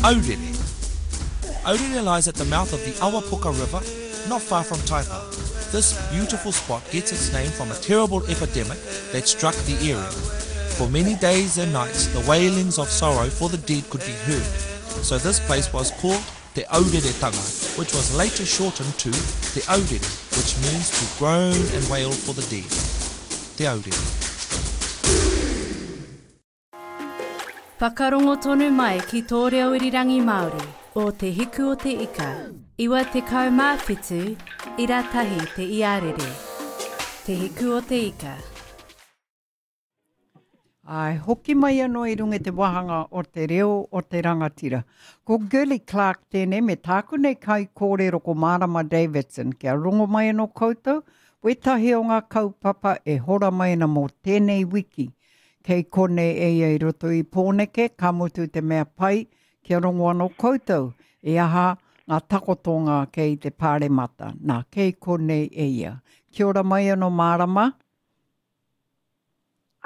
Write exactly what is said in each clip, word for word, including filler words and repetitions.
Aurere. Aurere lies at the mouth of the Awapuka River, not far from Taipa. This beautiful spot gets its name from a terrible epidemic that struck the area. For many days and nights, the wailings of sorrow for the dead could be heard. So this place was called Te Aureretanga, which was later shortened to Te Aurere, which means to groan and wail for the dead. Te Aurere. Whakarongo tonu mai ki tō reo irirangi Māori o Te Hiku o Te Ika, iwa tekau mā whitu, ira tahi te iarere. Te Hiku o Te Ika. Ai, hoki mai anō i runga i te wāhanga o te reo o te rangatira. Ko Girlie Clarke tēnei me tāku nei kai kōrero ko Marama Davidson. Kia rongo mai anō koutou, wētahi o ngā kaupapa e hora mai ana mō tēnei wiki. Kei konei e ia i roto i Pōneke, ka mutu te mea pai, kia rongo anō koutou, e aha ngā takotonga kei te pāremata. Nā, kei konei e ia. Kia ora mai anō Marama.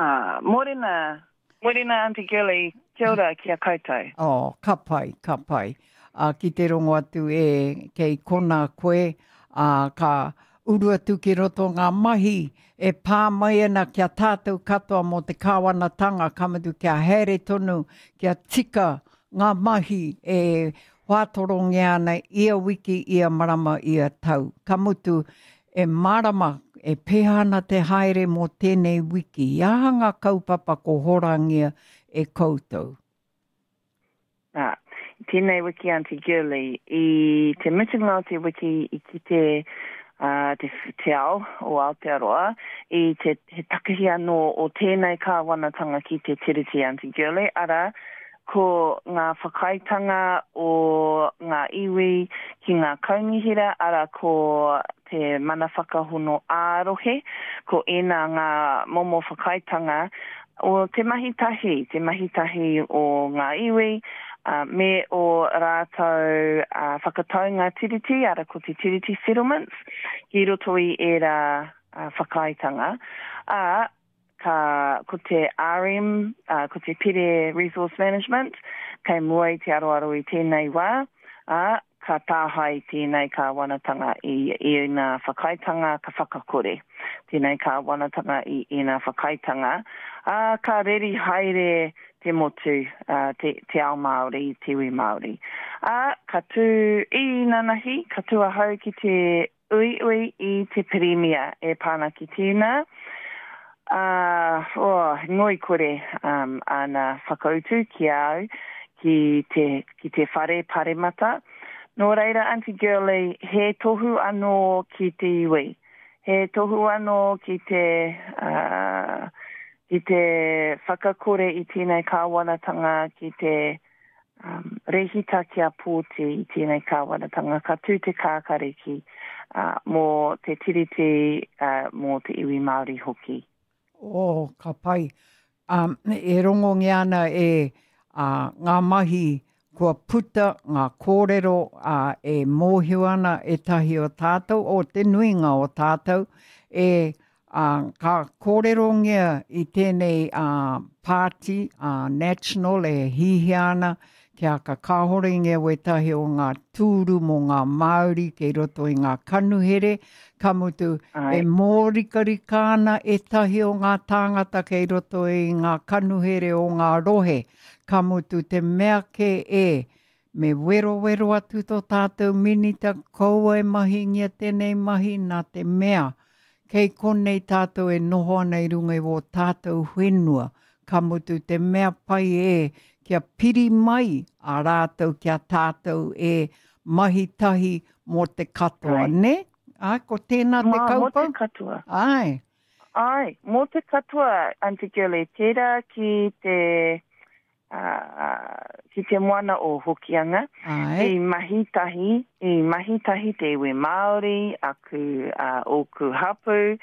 Ah, morena, morena Auntie Girlie, kia ora ki a koutou. Oh, ka pai, ka pai. Uh, ki te rongo atu e kei kona koe, uh, ka uru atu ki roto ngā mahi e pā mai ana kia tātou katoa mō te kāwanatanga, ka mutu kia haere tonu, kia tika ngā mahi e whātorongia ana ia wiki, ia marama, ia tau. Ka mutu e marama, e pēhea ana te haere mō tēnei wiki. I aha ngā kaupapa ko horangia e koutou? Nā, tēnei wiki Auntie Girlie, i te mutunga o te wiki i kite uh, te, te ao o Aotearoa, i te he takahi anō o tēnei kāwanatanga ki te Tiriti Auntie Girlie, ara ko ngā whakaaetanga o ngā iwi ki ngā kaunihera, ara ko te mana whakahono ā-rohe, ko ēnā ngā momo whakaaetanga o te mahi tahi, te mahi tahi o ngā iwi, uh, me o rātou uh, whakataunga tiriti, ara ko te tiriti settlements, ki roto i ērā uh, whakaaetanga. Ā, ka, ko te R M, uh, ko te Pire Resource Management, kei mua i te aroaro i tēnei wā, ā, ka tāhai tēnei kāwanatanga i ēnā whakaaetanga ka whakakore. Tēnei kāwanatanga i ēnā whakaaetanga, ā, ka reri haere te motu, uh, te, te ao Māori, te iwi Māori. Ā, ka tū i nanahi, ka tū ahau ki te uiui i te pirimia e pāna ki tēnā. Uh, oh, ngoikore um, ana whakautu ki au, ki te, ki te whare paremata. Nō reira, Auntie Girlie, he tohu anō ki te iwi. He tohu anō ki te, uh, ki te whakakore i tēnei kāwanatanga, ki te um, rehita kia pōti i tēnei kāwanatanga. Ka tū te kākariki uh, mō te tiriti, uh, mō te iwi Māori hoki. Oh, ka pai. Um, e rongongia ana e uh, ngā mahi kua puta ngā kōrero uh, e mōhio ana ētahi o tātou, o te nuinga o tātou, e uh, ka kōrerongia i tēnei uh, party, uh, national e hihia ana, kia ka kāhorengia wētahi o ngā tūru mō ngā Māori kei roto i ngā kanuhere, ka mutu Ai. e mōrikarika ana ētahi o ngā tāngata kei roto i ngā kanuhere o ngā rohe, ka mutu te mea ke e, me werowero atu tō tātou minita kaua e mahingia tēnei mahi nā te mea. Kei konei tātou e noho ana i runga i wō tātou whenua, ka mutu te mea pai e, kia piri mai a rātou kia tātou e mahi tahi mō te katoa, Ai. ne? Ai, ko tēnā te Mā, mō te kaupapa? katoa. Ai. Ai, mō te katoa, Auntie Girlie, tērā ki te, uh, ki te moana o Hokianga. Ai. I mahi tahi, i mahi tahi te iwi Māori, aku, uh, ōku hapu,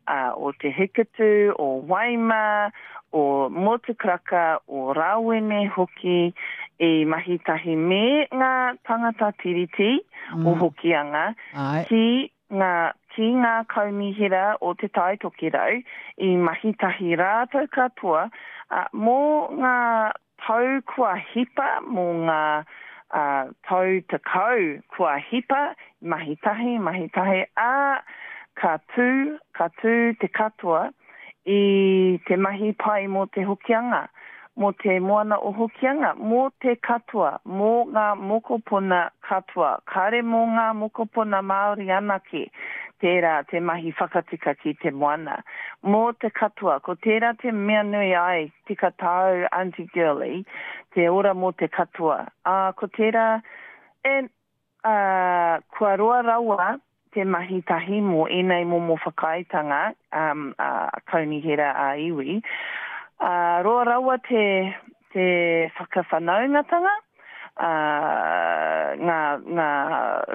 uh, o Te Hikutu, o Waima, o Motukaraka, o Rawene hoki, i mahi tahi me ngā tangata tiriti Mm. o Hokianga Ai. ki ngā, ki ngā kaunihera o Te Tai Tokerau, i mahi tahi rātou katoa, uh, mō ngā tau kua hipa, mō ngā uh, tau tekau kua hipa, mahi tahi, mahi tahi, ā, ka tū, ka tū te katoa i te mahi pai mō te Hokianga, mō te moana o Hokianga, mō te katoa, mō ngā mokopuna katoa, kāre mō ngā mokopuna Māori anake, tērā te mahi whakatika ki te moana. Mō te katoa, ko tērā te mea nui ai, tika tāu Aunty Girlie, te ora mō te katoa. Ā, ko tērā, and, ā, kua roa rawa te mahi tahi mō ēnei momo whakaaetanga, um, ā, kaunihera ā-iwi, ā, roa rawa te, te whakawhanaungatanga, ā, ngā, ngā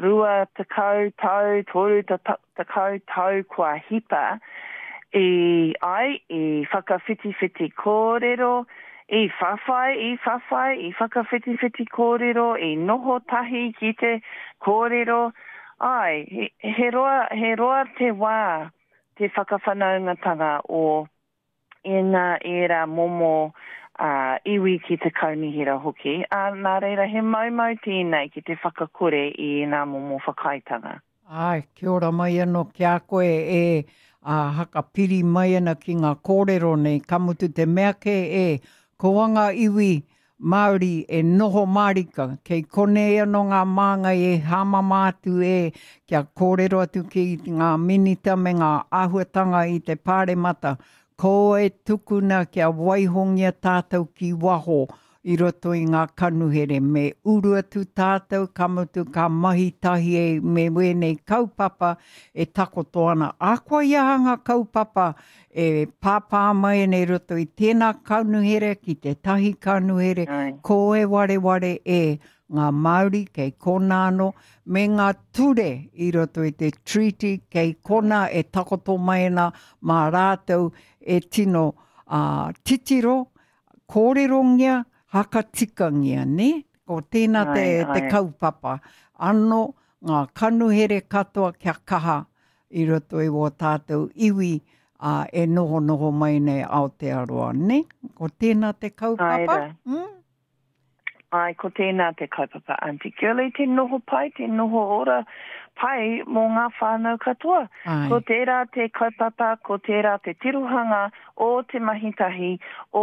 rua tekau tau, toru tekau tau kua hipa i ai, i whakawhitiwhiti kōrero, i whawhai, i whawhai, i whakawhitiwhiti kōrero, i noho tahi ki te kōrero, āe, he, he roa, he roa te wā te whakawhanaungatanga o ēnā ērā momo uh, iwi ki te kaunihera hoki, ā, nā reira he maumau tēnei ki te whakakore i ēnā momo whakaaetanga. Āe, kia ora mai anō ki a koe e ā, hakapiri mai ana ki ngā kōrero nei, ka mutu te mea kē e, ko ngā iwi Māori e noho mārika, kei konei anō ngā māngai e hāmama atu e, kia kōrero atu ki ngā minita me ngā āhuatanga i te pāremata, ko e tukuna kia waihongia tātou ki waho i roto i ngā kanuhere, me uru atu tātou, ka mutu ka mahi tahi e me wēnei kaupapa e takoto ana. Ahakoa i aha ngā kaupapa e pāpā mai ana i roto i tēnā kanuhere ki tētahi kanuhere, ko e wareware e ngā Māori kei konā anō, me ngā ture i roto i te treaty kei konā e takoto mai ana mā rātou e tino uh, titiro, kōrerongia, hakatikangia, ne? Ko tēnā te, Ai, te ai. kaupapa. Anō, ngā kanuhere katoa kia kaha i roto i wō tātou iwi uh, e noho noho mai nei Aotearoa, ne? Ko tēnā te kaupapa? Ai rā. Mm? Ai, ko tēnā te kaupapa Aunty Girlie, te noho pai, te noho ora pai mō ngā whānau katoa. Ai. Ko tērā te kaupapa, ko tērā te tirohanga o te mahi tahi, o